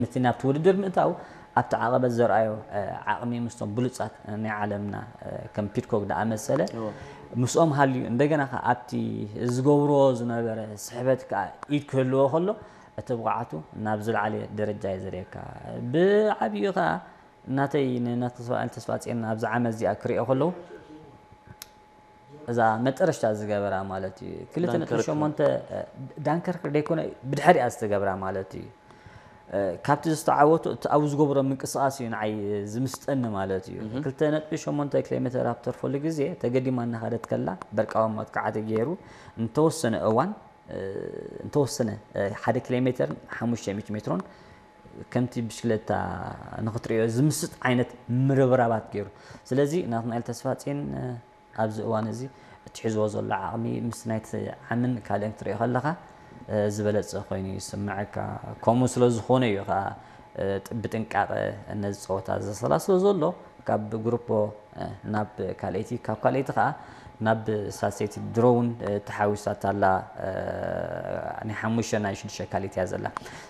ነቲ ናብቲ ውድድር ምእታው ኣብቲ ዓቐበት ዘርኣዮ ዓቕሚ ምስቶም ብሉጻት ናይ ዓለምና ከም ፒድኮክ ዝኣመሰለ ምስኦም ሃልዩ እንደገና ከ ኣብቲ ዝገብርዎ ዝነበረ ስሕበት ከኣ ኢድ ክህልዎ ከሎ እቲ ብቕዓቱ ናብ ዝለዓለ ደረጃ እዩ ዘርእየካ። ብዓብዩ ከኣ እናተይ ንእናተ ተስፋ- ተስፋ ጽዮን ኣብዚ ዓመት እዚኣ ክርእዮ ከለዉ እዛ መጠረሽታ ዝገበራ ማለት እዩ ክልተ ነጥቢ ሸሞንተ ዳንከርክ ደይኮነ ብድሕሪኣ ዝተገብራ ማለት እዩ። ካብቲ ዝተዓወቱ እቲ ኣብኡ ዝገብሮ ምንቅስቃስ እዩ ንዓይ ዝምስጠኒ ማለት እዩ። ክልተ ነጥቢ ሸሞንተ ኪሎ ሜትር ኣብ ተርፈሉ ግዜ ተገዲማ እናኸደት ከላ በርቃዊ መጥቃዕቲ ገይሩ እንተወሰነ እዋን እንተወሰነ ሓደ ኪሎ ሜትርን ሓሙሽተ ሚእቲ ሜትሮን ከምቲ ብሽክለታ ንኽትሪኦ ዝምስጥ ዓይነት ምርብራባት ገይሩ። ስለዚ ናትናኤል ተስፋጽዮን ኣብዚ እዋን እዚ እትሕዝዎ ዘሎ ዓቕሚ ምስ ናይቲ ዓምን ካልእን ክትሪኦ ከለኻ ዝበለጸ ኮይኑ ይስምዐካ። ከምኡ ስለ ዝኾነ እዩ ከዓ ብጥንቃቐ ነዚ ፀወታ ዘሰላስሎ ዘሎ። ካብ ግሩፖ ናብ ካልኣይቲ ካብ ካልኣይቲ ከዓ ናብ ሳልሰይቲ ድሮ እውን ተሓዊሳታ ኣላ። ናይ ሓሙሽተ ናይ ሽዱሽተ ካልኣይቲ እያ ዘላ።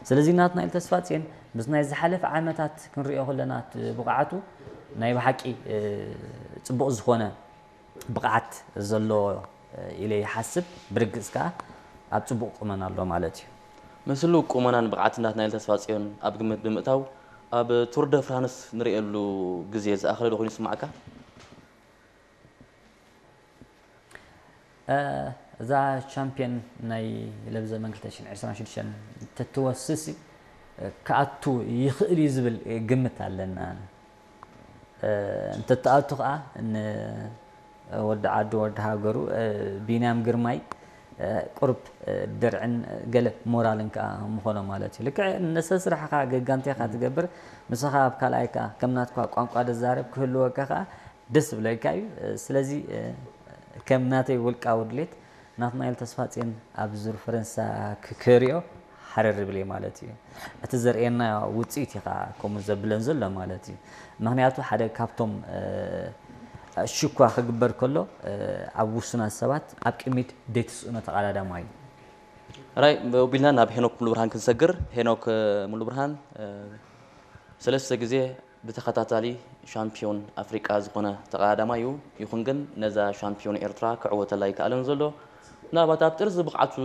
ስለዚ ናትናኤል ተስፋፅዮን ምስ ናይ ዝሓለፈ ዓመታት ክንሪኦ ከለና እቲ ብቕዓቱ ናይ ብሓቂ ፅቡቕ ዝኾነ ብቕዓት ዘለዎ ኢለ ይሓስብ። ብርግፅ ከዓ ኣብ ፅቡቕ ቁመና ኣሎ ማለት እዩ። ምስሉ ቁመናን ብቕዓት ናትናኤል ተስፋፅዮን ኣብ ግምት ብምእታው ኣብ ቱር ደ ፍራንስ ንርእየሉ ግዜ ዝኣኸለ ዶ ኮይኑ ይስማዓካ? እዛ ቻምፒዮን ናይ ለብዘመን ክልተ ሽሕን ዕስራን ሽዱሽተን እንተትወስስ ክኣቱ ይኽእል እዩ ዝብል ግምት ኣለና። እንተትኣቱ ከዓ ንወዲ ዓዱ ወዲ ሃገሩ ቢንያም ግርማይ ቁሩብ ድርዕን ገለ ሞራልን ከዓ ምኾኖ ማለት እዩ። ልክዕ ንሰስራሕኻ ገጋንቴኻ ትገብር፣ ንስኻ ኣብ ካልኣይ ከዓ ከም ናትኳ ቋንቋ ድዛረብ ክህልወካ ከዓ ደስ ዝብለካ እዩ። ስለዚ ከም ናተይ ውልቃዊ ድሌት ናትናኤል ተስፋጽዮን ኣብ ዙር ፈረንሳ ክክሪኦ ሓረር ይብል እየ ማለት እዩ። እቲ ዘርእየና ውፅኢት እዩ ከዓ ከምኡ ዘብለን ዘሎ ማለት እዩ። ምክንያቱ ሓደ ካብቶም ሽኳ ክግበር ከሎ ኣብ ውሱናት ሰባት ኣብ ቅድሚት ደይትስእኖ ተቐዳዳማይ እዩ። ራይ ቢልና ናብ ሄኖክ ሙሉብርሃን ክንሰግር። ሄኖክ ሙሉብርሃን ሰለስተ ግዜ ብተኸታታሊ ሻምፒዮን ኣፍሪቃ ዝኾነ ተቐዳዳማይ እዩ። ይኹን ግን ነዛ ሻምፒዮን ኤርትራ ክዕወተላ ኣይከኣለን ዘሎ። ምናልባት ኣብ ጥርዚ ብቕዓቱ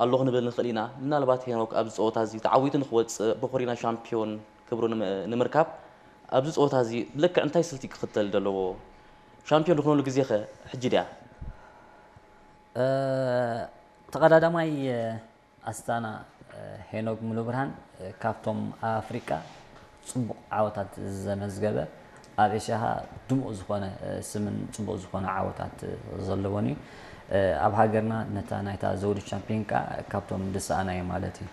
ኣሎ ክንብል ንኽእል ኢና። ምናልባት ሄኖክ ኣብዚ ፀወታ እዚ ተዓዊቱ ንክወፅእ ብኹሪና ሻምፒዮን ክብሩ ንምርካብ ኣብዚ ፀወታ እዚ ብልክዕ እንታይ ስልቲ ክኽተል ዘለዎ? ሻምፒዮን ዝኾነሉ ግዜ ኸ ሕጂ ድያ? ተቐዳዳማይ ኣስታና ሄኖግ ሙሉብርሃን ካብቶም ኣብ ኣፍሪቃ ፅቡቕ ዓወታት ዘመዝገበ ኣብ ኤሽያ ድሙቕ ዝኾነ ስምን ፅቡቕ ዝኾነ ዓወታት ዘለዎን እዩ። ኣብ ሃገርና ነታ ናይታ ዘውዲ ቻምፒዮን ከዓ ካብቶም ዝሰኣና እዩ ማለት እዩ።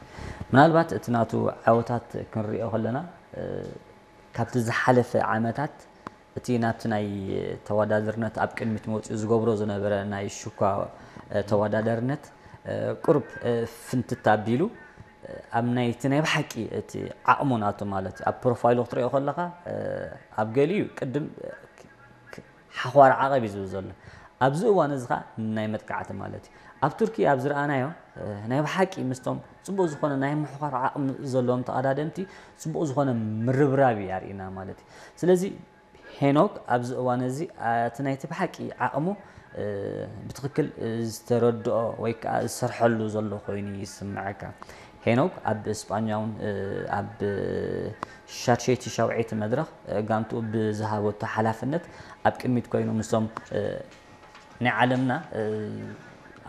ምናልባት እቲ ናቱ ዓወታት ክንሪኦ ከለና ካብቲ ዝሓለፈ ዓመታት እቲ ናብቲ ናይ ተወዳደርነት ኣብ ቅድሚት መውፅኡ ዝገብሮ ዝነበረ ናይ ሽኳ ተወዳደርነት ቁሩብ ፍንትት ኣቢሉ ኣብ ናይቲ ናይ ብሓቂ እቲ ዓቕሙ ናቱ ማለት እዩ ኣብ ፕሮፋይሉ ክትሪኦ ከለካ ኣብ ገሊኡ ቅድም ሓኳር ዓቐብ እዩ ዝብል ዘሎ ኣብዚ እዋን እዚ ከዓ ናይ መጥቃዕቲ ማለት እዩ ኣብ ቱርኪ ኣብ ዝረኣናዮ ናይ ብሓቂ ምስቶም ፅቡቅ ዝኾነ ናይ ምሕኳር ዓቕሚ ዘለዎም ተቐዳደምቲ ፅቡቅ ዝኾነ ምርብራብ እዩ ኣርእና ማለት እዩ ስለዚ ሄኖክ ኣብዚ እዋን እዚ እቲ ናይቲ ብሓቂ ዓቕሙ ብትኽክል ዝተረድኦ ወይ ከዓ ዝሰርሐሉ ዘሎ ኮይኑ ይስምዐካ። ሄኖክ ኣብ ስጳኛ እውን ኣብ ሻድሸይቲ ሻውዐይቲ መድረኽ ጋንትኡ ብዝሃበቶ ሓላፍነት ኣብ ቅድሚት ኮይኑ ምስቶም ናይ ዓለምና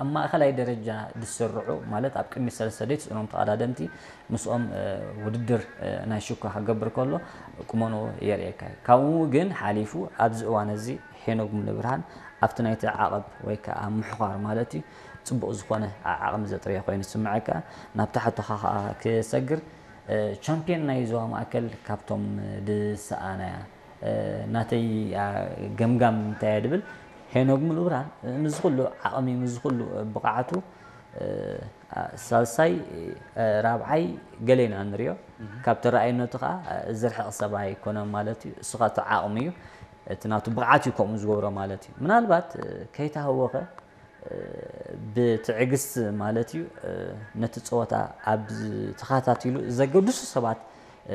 ኣብ ማእኸላይ ደረጃ ዝስርዑ ማለት ኣብ ቅድሚ ሰለስተ ደይ ትፅእኖም ተቐዳደምቲ ምስኦም ውድድር ናይ ሽኳ ክገብር ከሎ ቁመንኡ የርእየካ እዩ። ካብኡ ግን ሓሊፉ ኣብዚ እዋን እዚ ሄኖግ ሙሉብርሃን ኣብቲ ናይቲ ዓቐብ ወይ ከዓ ምሕዃር ማለት እዩ ፅቡቕ ዝኾነ ዓቕሚ ዘጥረየ ኮይኑ ዝስምዐካ። ናብ ታሕቶኻ ከዓ ክሰግር ቻምፒዮን ናይ ዞባ ማእከል ካብቶም ዝሰኣናያ ናተይ ገምጋም እንታይ እየ ድብል ሄኖግ ሙሉብርሃን ምስዚ ኩሉ ዓቕሚ ምስዚ ኩሉ ብቕዓቱ ሳልሳይ ራብዓይ ገለ ኢና ንሪኦ ካብ ተረኣየነቱ ከዓ ዝርሕቕ ሰብ ኣይኮነን ማለት እዩ እሱ ከዓ እቲ ዓቕሚ እዩ እቲ ናቱ ብቕዓት እዩ ከምኡ ዝገብሮ ማለት እዩ ምናልባት ከይተሃወኸ ብትዕግስቲ ማለት እዩ ነቲ ፀወታ ኣብ ተኸታቲሉ ዘገድሱ ሰባት